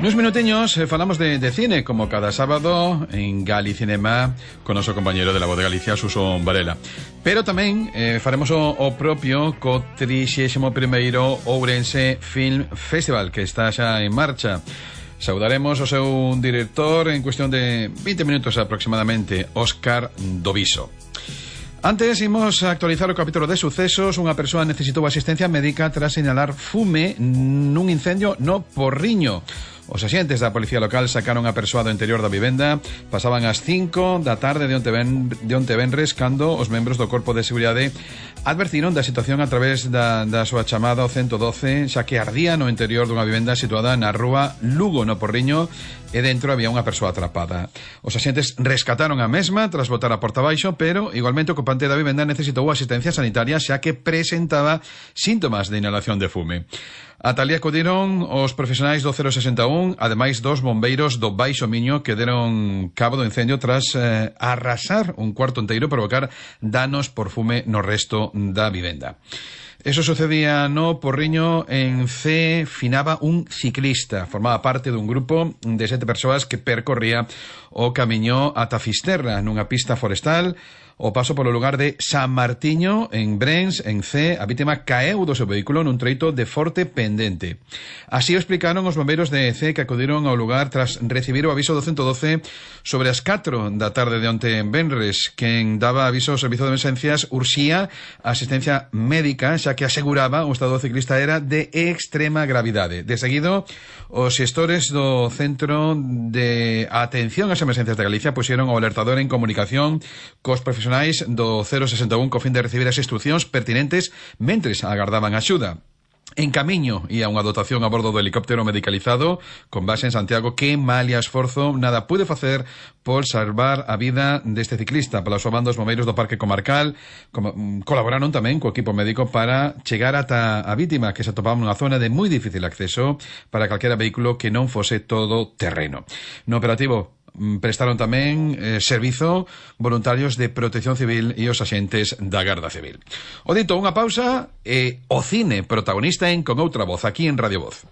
Nuns minutiños falamos de cine, como cada sábado en Galicinema, con noso compañero de La Voz de Galicia, Suso Varela. Pero tamén faremos o propio co 31º Ourense Film Festival, que está xa en marcha. Saudaremos o seu director en cuestión de 20 minutos aproximadamente, Óscar Doviso. Antes imos a actualizar o capítulo de sucesos. Unha persoa necesitou asistencia médica tras señalar fume nun incendio no Porriño. Os axentes da policía local sacaron a persoa do interior da vivenda. Pasaban as 5 da tarde de onte venres cando os membros do Corpo de Seguridade advertiron da situación a través da súa chamada ao 112, xa que ardía no interior dunha vivenda situada na rúa Lugo, no Porriño, e dentro había unha persoa atrapada. Os axentes rescataron a mesma tras botar a porta abaixo, pero igualmente o ocupante da vivenda necesitou asistencia sanitaria xa que presentaba síntomas de inhalación de fume. Ata ali acudiron os profesionais do 061, ademais dos bombeiros do Baixo Miño, que deron cabo do incendio tras arrasar un cuarto enteiro e provocar danos por fume no resto da vivenda. Eso sucedía no Porriño. En C finaba un ciclista. Formaba parte dun grupo de 7 persoas que percorría o camiño ata Fisterra, nunha pista forestal. O paso polo lugar de San Martiño, en Brens, en C, a vítima caeu do seu vehículo nun treito de forte pendente. Así o explicaron os bombeiros de C, que acudiron ao lugar tras recibir o aviso do 112 sobre as 4 da tarde de onte en venres. Quen daba aviso ao servizo de emergencias urxía asistencia médica, xa que aseguraba o estado do ciclista era de extrema gravidade. De seguido, os xestores do Centro de Atención ás Emergencias de Galicia puxeron o alertador en comunicación cos profesionais do 061 co fin de recibir as instruccións pertinentes mentres agardaban axuda. En camiño ia unha dotación a bordo do helicóptero medicalizado con base en Santiago que, malia esforzo, nada pude facer por salvar a vida deste ciclista. Pola súa banda, os bombeiros do Parque Comarcal colaboraron tamén co equipo médico para chegar ata a vítima, que se atopaba nunha zona de moi difícil acceso para calquera vehículo que non fose todo terreno. No operativo prestaron tamén servizo voluntarios de Protección Civil e os axentes da Garda Civil. O dito, unha pausa e o cine protagonista en Con Outra Voz, aquí en Radio Voz.